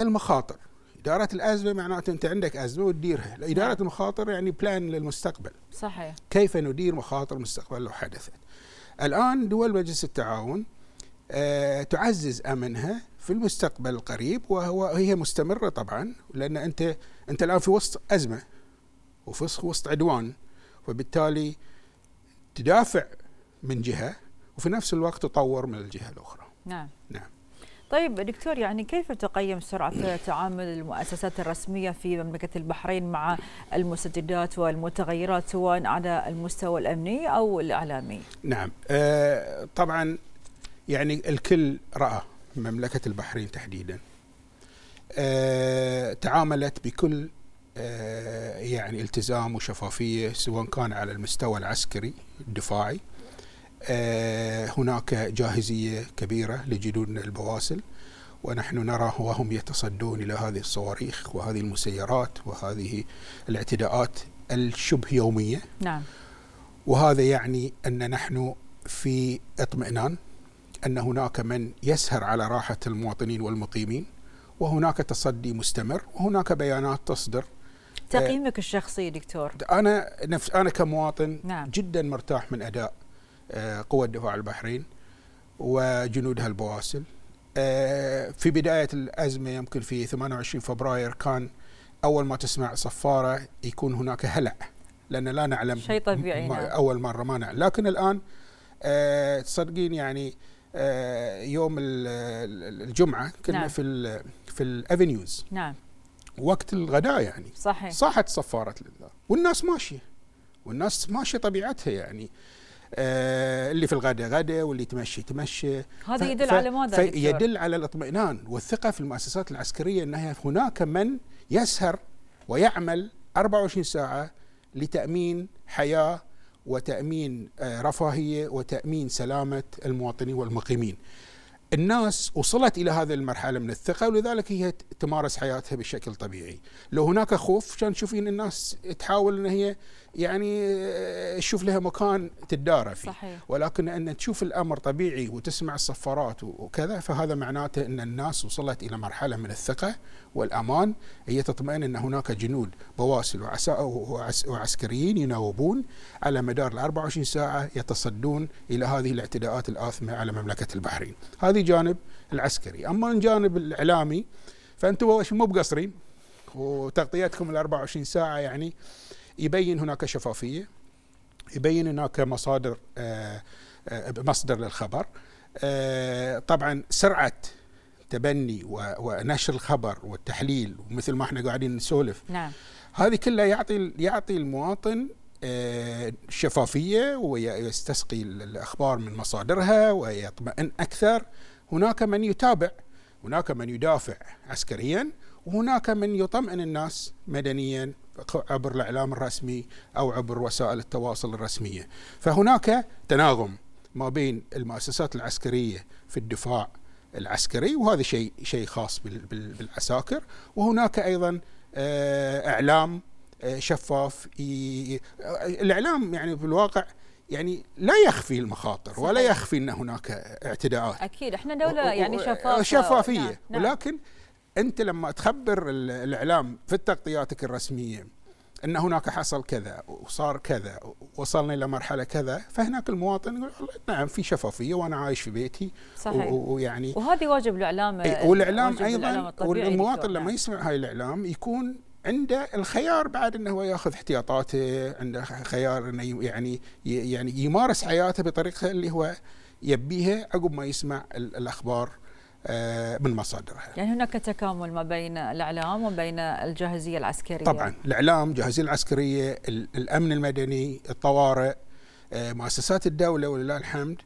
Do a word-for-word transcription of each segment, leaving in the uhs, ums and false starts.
المخاطر. إدارة الأزمة معناته أنت عندك أزمة وتديرها، إدارة نعم. المخاطر يعني بلان للمستقبل. صحيح. كيف ندير مخاطر المستقبل لو حدثت. الآن دول مجلس التعاون أه تعزز أمنها في المستقبل القريب، وهو هي مستمرة طبعا، لأن أنت أنت الآن في وسط أزمة وفي وسط عدوان، وبالتالي تدافع من جهة وفي نفس الوقت تطور من الجهة الأخرى. نعم. نعم. طيب دكتور، يعني كيف تقيم سرعة تعامل المؤسسات الرسمية في مملكة البحرين مع المستجدات والمتغيرات سواء على المستوى الأمني أو الإعلامي؟ نعم. آه طبعا يعني الكل رأى مملكة البحرين تحديدا آه تعاملت بكل آه يعني التزام وشفافية، سواء كان على المستوى العسكري الدفاعي. آه هناك جاهزية كبيرة لجنودنا البواسل، ونحن نرى وهم يتصدون إلى هذه الصواريخ وهذه المسيرات وهذه الاعتداءات الشبه يومية. نعم. وهذا يعني أن نحن في اطمئنان أن هناك من يسهر على راحة المواطنين والمقيمين، وهناك تصدي مستمر، وهناك بيانات تصدر. تقييمك الشخصي دكتور؟ أنا نفس أنا كمواطن نعم. جدا مرتاح من أداء قوى الدفاع البحرين وجنودها البواسل. في بداية الأزمة يمكن في ثمانية وعشرين فبراير كان أول ما تسمع صفارة يكون هناك هلع، لأن لا نعلم شيء طبيعي. نعم. أول مرة ما نعلم، لكن الآن تصدقين يعني يوم الجمعة كنا نعم. في ال في الأفنيوز. نعم. وقت الغداء يعني صحيح. صاحت صفارة لله، والناس ماشية والناس ماشية طبيعتها يعني. آه اللي في الغداء غدا واللي تمشي تمشي. هذا يدل على ماذا؟ يدل على الاطمئنان والثقة في المؤسسات العسكرية، أنها هناك من يسهر ويعمل أربعة وعشرين ساعة لتأمين حياة وتأمين آه رفاهية وتأمين سلامة المواطنين والمقيمين. الناس وصلت إلى هذه المرحلة من الثقة، ولذلك هي تمارس حياتها بشكل طبيعي. لو هناك خوف كان تشوفين الناس تحاول أن هي يعني تشوف لها مكان تدارى فيه. صحيح. ولكن أن تشوف الأمر طبيعي وتسمع الصفارات وكذا، فهذا معناته أن الناس وصلت إلى مرحلة من الثقة والأمان. هي تطمئن أن هناك جنود بواسل وعسكريين يناوبون على مدار الأربع وعشرين ساعة يتصدون إلى هذه الاعتداءات الآثمة على مملكة البحرين. هذه جانب العسكري. أما الجانب الإعلامي فأنتم مو بقصرين، وتغطيتكم الأربع وعشرين ساعة يعني يبين هناك شفافية، يبين هناك مصادر آه آه مصدر للخبر. آه طبعا سرعة تبني ونشر الخبر والتحليل، ومثل ما احنا قاعدين نسولف. نعم. هذه كلها يعطي يعطي المواطن آه شفافية، ويستسقي الأخبار من مصادرها ويطمئن أكثر. هناك من يتابع، هناك من يدافع عسكريا، وهناك من يطمئن الناس مدنيا عبر الإعلام الرسمي أو عبر وسائل التواصل الرسمية. فهناك تناغم ما بين المؤسسات العسكرية في الدفاع العسكري، وهذا شيء شيء خاص بالعساكر. وهناك أيضا إعلام شفاف. الإعلام يعني في الواقع يعني لا يخفي المخاطر. صحيح. ولا يخفي أن هناك اعتداءات. أكيد احنا دولة يعني شفافة شفافية. نعم. ولكن أنت لما تخبر الإعلام في تغطياتك الرسمية أن هناك حصل كذا وصار كذا وصلنا إلى مرحلة كذا، فهناك المواطن يقول نعم في شفافية وأنا عايش في بيتي. صحيح. ويعني وهذه واجب الإعلام. والإعلام أيضا، والمواطن لما يسمع هاي الإعلام يكون عنده الخيار بعد أنه هو يأخذ احتياطاته، عنده خيار أنه يعني يعني يمارس حياته بطريقة اللي هو يبيها عقب ما يسمع الأخبار من مصادرها. يعني هناك تكامل ما بين الإعلام وبين الجاهزية العسكرية. طبعا الإعلام، الجاهزية العسكرية، الأمن المدني، الطوارئ، مؤسسات الدولة ولله الحمد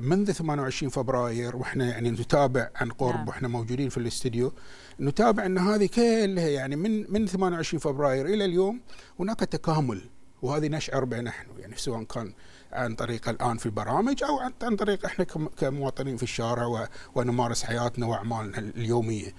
منذ ثمانية وعشرين فبراير واحنا يعني نتابع عن قرب. نعم. واحنا موجودين في الاستديو نتابع ان هذه كلها يعني من من ثمانية وعشرين فبراير الى اليوم هناك تكامل، وهذه نشعر به نحن يعني سواء كان عن طريق الآن في البرامج أو عن طريق إحنا كمواطنين في الشارع ونمارس حياتنا وأعمالنا اليومية.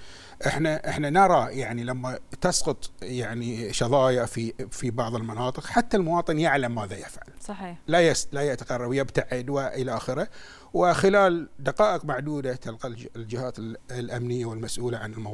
إحنا إحنا نرى يعني لما تسقط يعني شظايا في في بعض المناطق حتى المواطن يعلم ماذا يفعل. صحيح. لا يس لا يتقرب ويبتعد وإلى آخره، وخلال دقائق معدودة تلقى الجهات الأمنية والمسؤولة عن الموضوع